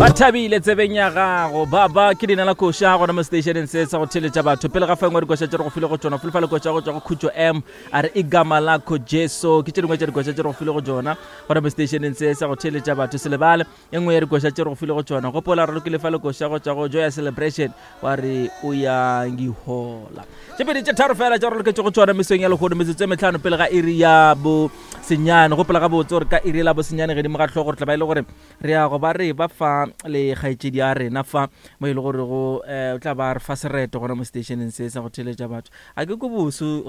Ba thabile tsebeng ya gago baba ke leina la koša gona mo stationeng se sa go theletša batho pele ga fengwe dikoša tše re go file go tšona folofa lekoša go tšwa go khutšo m a re igama lakho jesu ke tše dingwe tša dikoša tše re go file go tšona gona mo stationeng se sa go theletša batho se lebale e nngwe ya dikoša tše re go file go tšona gopola re lokile fa lekoša go tšwa go joya celebration wa re o ya ngihola tše pedi tše tharo fela tša re loketše go tšona mesong ya lehono metsotso e metlhano pele ga iri ya bo senyane gopola gabotse gore ka iri la bosenyane gedimo ga tlhogo re tla ba e le gore Re ya go ba re ba fa le kgaetšedi ya rena fa mo e le gore go um o tla ba re fa sereto gona mo stationeng se sa go theletša batho. A ke ko boso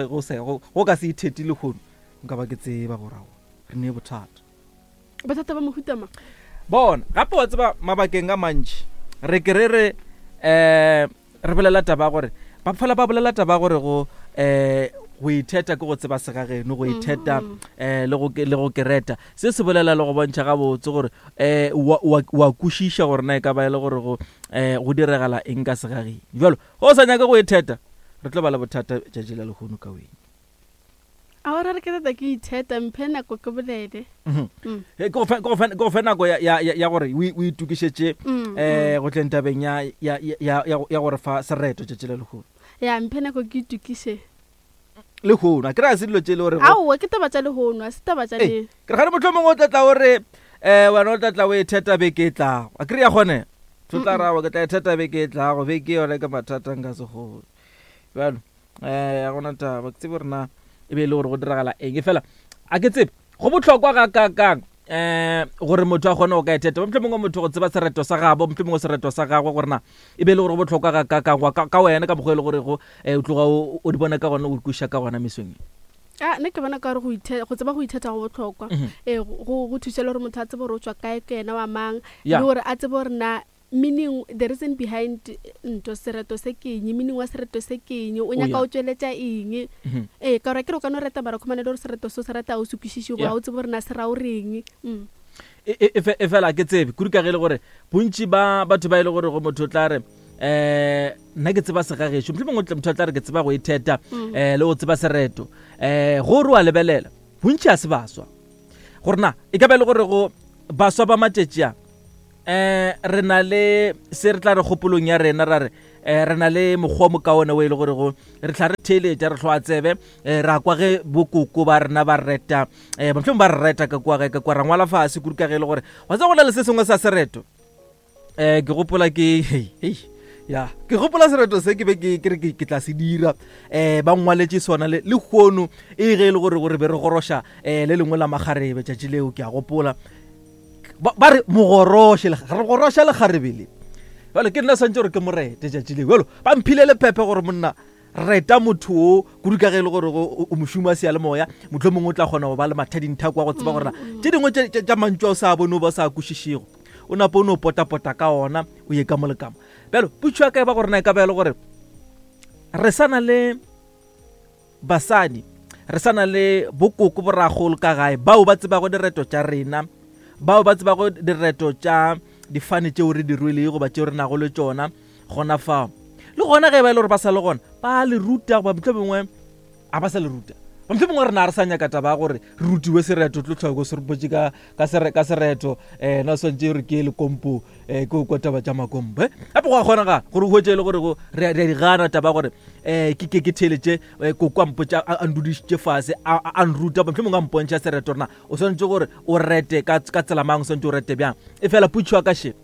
go se go ka se itheti lehono nka ba ke tseba gore aowa re ne bothata. Bothata ba mohuta mang? Bona gape wa tseba mabakeng a mantši re ke re re um Re bolela taba ya gore ba fela ba bolela taba ya gore go um go itheta ke go tseba segageno, go itheta um le go le go kereta. Se se bolela le go bontšha gabotse gore um wa wa wa kwešiša gore na e ka ba e le gore go um go diregala eng ka segageng. Bjalo ge o sa nyake go itheta re tlo ba le bothata tšatši la lehono ka wena. A o ra re ke tata ke itheta, mphe nako ke bolele. Mhm. Ke go fe, ke go fe, ke go fe nako ya, ya, ya, ya gore o o itokišetše eh go tleng tabeng ya, ya, ya, ya, ya go- ya gore fa sereto tšatši la lehono. Ya, mphe nako ke itokiše. Lehono, a ke re a se dilo tše e le gore go- Aowa, ke taba tša lehono, a se taba tša Ee, le. ke re gane mohlomongwe o tla tla o re eh wena o tla tla o e theta beke e tlago. A ke re ya kgonega. O tla ra wa ke tla e theta beke e tlago, beke yona ke mathata nka se kgone. Bjalo um ga gona taba ke tsebe gore na e be e le gore go diragala eng e fela a ke tsebe go bohlokwa ga kakang um gore motho a kgone go ka etheta motlho mongwe motho go tseba sereto sa gabo motlho mongwe sereto sa gagwe gore na e be e le gore go bohlokwa ga kakang ka wena ka mokgwa e le gore go um o tloga o di bona ka gona o kweša ka gona mesong e a nna ke bona ka gore go tseba go ithetha go bohlokwa mhm. ee go thusa le gore motho a tsebe gore o tswa kae ke ena wa mang le gore a tsebe gore na Meaning, the reason behind nto, sereto se ke eng, meaning wa sereto se ke eng, o nyaka o tšweletša eng. Ee, ka gore akere o ka no reta mara o khumane le gore sereto se o se reta ga o se kwešiše goba ga o tsebe gore na se ra o reng. Mm. E, e, e, e fela ke tsebe kudu ka ge e le gore bontši ba batho ba e le gore go motho o tla re um nna ke tseba segagešo mohlomongwe motho o tla re ke tseba go itheta um le go tseba sereto um go re wa lebelela bontši a se baswa gore na e ka ba e le gore go baswa ba matšatši a um re na le se re tla re kgopolong ya rena ra re um re na le mokgwa mokaone o e le gore go re tla re theeletša re tlhoa tsebe um ra kwa ge bokoko ba rena ba reta um mohlomong ba re reta ka kwa ge ka kwa ra ngwala fase kudu ka ge e le gore wa tseba go na le se sengwe sa sereto um ke gopola ke hei ya ke gopola sereto se ke be ke ke re ke tla se dira um ba ngwaletše sona le lehono e ge e le gore gore be re goroša um le lengwe la makgarebe tšatši leo ke a gopola ba ba re mogoroše re goroša lekgarebe le jalo ke nna swantse gore ke morete tšatši le jalo ba mphile lephephe gore monna reta motho o kudu ka ge e le gore o mošomo wa seyalemoya motlho mongwe o tla kgona go ba le mathadinthako wa go tseba gore tše dingwe tša mantšu a o sa bone o ba o sa kwešišego o napo o no potapota ka ona o ye ka mo le kamo bjalo putšo ya ka e ba gore na e ka ba e le gore re sa na le Basadi, re sa na le bokoko boragolo ka gae bao ba tsebago direto tša rena, bao ba tsebago direto tša difane tšeo re di rwelego goba tšeo re nago le tšona gona fao. Le gona ge e ba e le gore ba sa le gona, ba le ruta goba mohlomongwe a ba sa le ruta. Mohlomongwe rena ga re sa nyaka taba ya gore re rutiwe sereto, tlo tlhoko se re botše ka, ka, sere, ka sereto um na swantše re ke lekompo um ke o kwa taba tša makompo eh? Gape go a kgonagala gore o hwetše e le gore go re a di gana taba gore um ke ke ke theeletše eh, koko a mpotša a ndudišitše fase a nruta mohlomongwe a mpontšha sereto rena o swanetše gore o rete ka tsela mang o swanetše o rete bjang e fela putšo ya ka še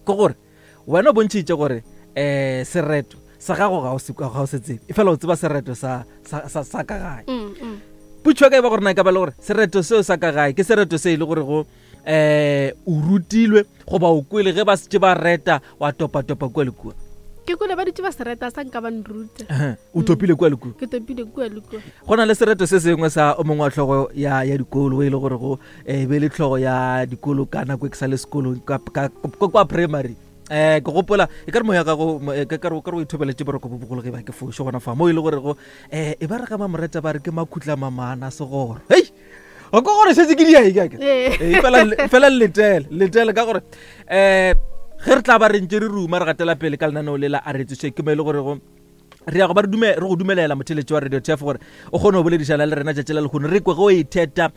ke gore wena o bontšhitše gore um sereto sa gago ga o se tsebe e fela o tseba sereto sa, sa, sa, sa ka gae mm, mm. putšo ya ka e ba gore na e ka ba le gore sereto seo sa ka gae ke sereto se e le gore go eh o rutilwe goba o kwele ge ba setse ba reta wa topatopa kua le kua ke kwele ba dutse ba se reta sa nka ba nruta o topile kua le kua ke topile kua le kua go na le sereto se sengwe sa o mongwe wa tlhogo ya ya dikolo e le gore go eh, be le tlhogo ya dikolo ka nako e ke sa le sekolong kwa primary eh ke gopola e ka re moya gago eh, ka re o ithobeletše boroko bo bogolo ge ba ke fošo gona fa mo e le gore go eh e ba re ga mamoreta ba re ke makhutla mamana segoro hei o ko gore šetse ke diae kake ee. Ee, fela letele letele ka gore um ge re tla ba re ntse re ruma re gatela pele ka lenaneo le la a re tsoše ke mo e le gore go re ya go ba re go dumelela motheletši wa radio tf gore o kgone go boledišana le rena tšatši la lekgono re kwe ge o itheta.